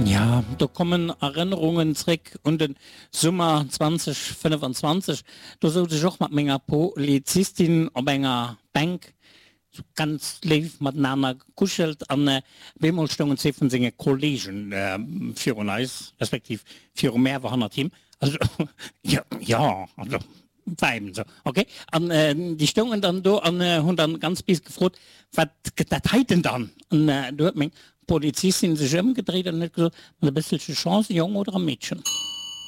Ja, do kommen Erënnerungen zréck un de Summer 2025. Do souz ech och mat menger Polizistin op enger Bänk, sou ganz léif matenaner gekuschelt an op eemol stoungen zwee vun senge Kollegen virun eis, respektiv viru mär, awer hannert him. Also, jo, jo, also war eben sou, ok. An déi stoungen dann do an hunn dann ganz bis gefrot, Wat gëtt dat heiten dann? An du huet meng Polizistin sech ëmgedréit an huet gesot, Mat e bësselche Chance e Jong oder e Meedchen.